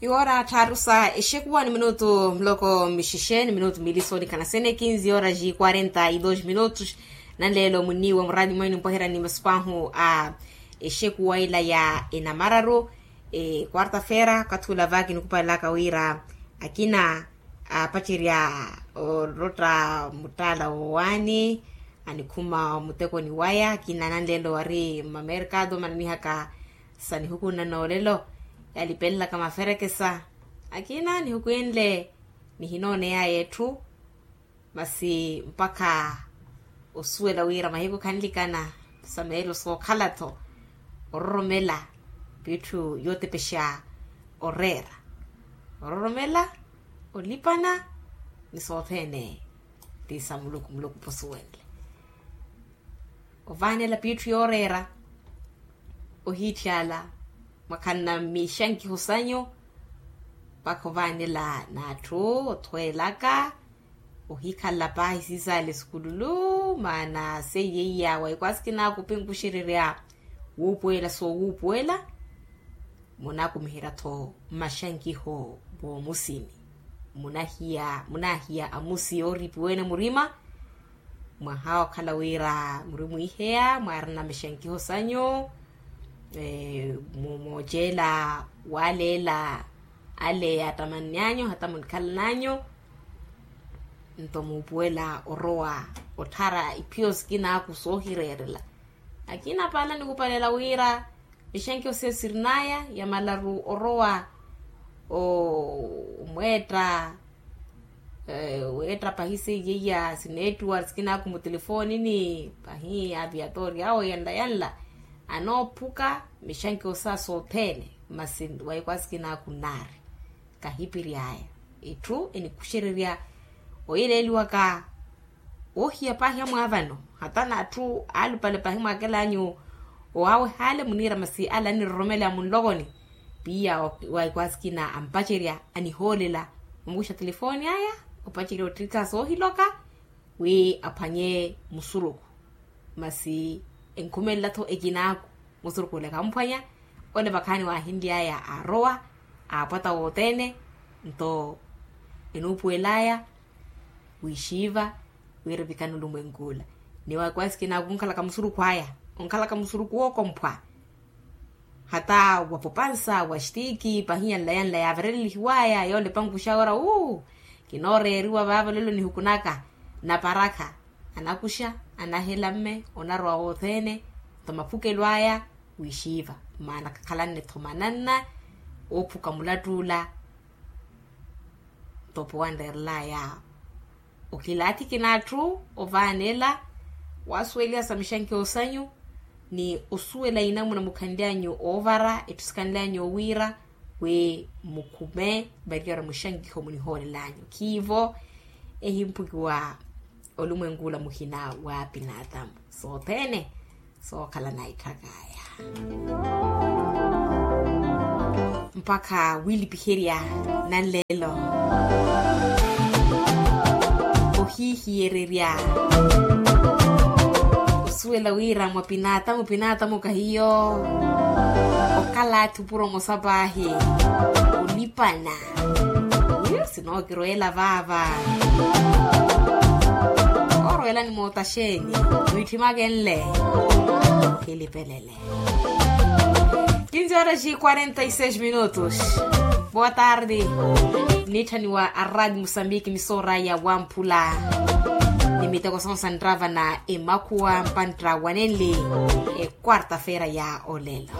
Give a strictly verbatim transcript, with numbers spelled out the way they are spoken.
Iwoora tthaaru sa exekuwa ni minutu muloko mixexe ni minutu mili soonikana sene kinzi horas e quarenta e dois minutos. Nanleelo munniiwa muraadi mwenu mpweherani masiku ahu a exekuwa ila ya enamararu. Quarta-feira okathi ula vaaki nikupalelaka wira akina apacerya orotta muttaala woowaani anikhuma omutekoni waya akina nanleelo wari mmamerkado mananihaka sa nihukunna noolelo yalipelelaka maferekesa akina nihukwinle nihinooneyaye etthu. Masi mpakha osuwela wira mahiku khanlikana sa meelo sookhala-tho ororomela piitthu yootepexa oreera ororomela olipana ni sothene ti sa muluku muluku posuwenle ovaanela piitthu yooreera ohiitthyaala mwakhanna mixankiho sanyu mpakha ovaanela n'atthu othweelaka ohikhala paahi sisaale sukululu maana seiye iya waikwasikina kupinkuxererya wuupuwela soowuupuwela munakumiherya-tho mmaxankiho moomusini munahiya munahiya amusi yooripiwene murima mwaha okhala wira muri mwiiheya mwaarina mixankiho sanyu mumooceela waaleela ale yaattamanny'anyu hata munikhalan'anyu nto muupuwela orowa otthara iphiyo sikin'aku soohireerela akina paala nikupalela wira mixankiho seiye sirin'aya ya malaru orowa omweetta weetta pahi seiye iya sineettuwari sikin'aku mutelefoonini pahi aviatoori awo yanla yanla anoophuka mixankiho sa sothene masi waikwasikina kunnaari kahipiry'aya etthu enikuxererya oyeleeliwaka oohiya paahi amwaavano hata n'atthu aalupale paahi mwaakel'anyu owaawehaale muniira masi ale aniroromeleya munlokoni piiya waikwasikina ampacerya anihoolela omukuxa telefooni aya opacerya ottikha soohiloka wi aphwanye musuruku masi enkhumelela-tho ekinaaku musuruku ole khamphwanya ole vakhaani waahinly'aya aarowa aapwata wothene nto enuupuwel'aya wiixiiva wira evikana olumwenk'ula ni waikwasikina onkhalaka musuruku aya onkhalaka musuruku wookomphwa hata wapopansa wastiki pahi yanla yanla yaavarelelihiw'aya yoole pankuxa ora uu kinooreeriwa vaava olelo nihukunaka naparakha anakuxa anahela mme onarowa wothene nto maphukelo aya wiixiiva maana khakhalanne-tho mananna oophuka mulatt'ula nto opo wanreerel'aya okilaathiki n'atthu ovaanela waasuweliha sa mixankiho sanyu ni osuwela inamuna mukhanly'anyu oovara etthu sikhanly'anyu owiira wi mukhume variyari muxankiho munihoolel'anyu khiivo ehimphukiwa olumwenk'ula muhina wa pinaatamu sothene sookhala naitthak'aya mpakha wiilipiherya nanleelo ohiihiyererya osuwela wira mwa pinaatamu pinaatamu kahiyo okhala atthupuro mosa paahi olipana sinookiroyela vaava oroyela ni mootaxeeni mwiitthimake nle kilipelele kinzi horas e quarenta e seis minutos boa tarde nitthaniwa a radio mosambiki misoora ya wamphula ni miteko sonsa nrava na emakhuwa mpantta wanenli e quarta-feira ya olelo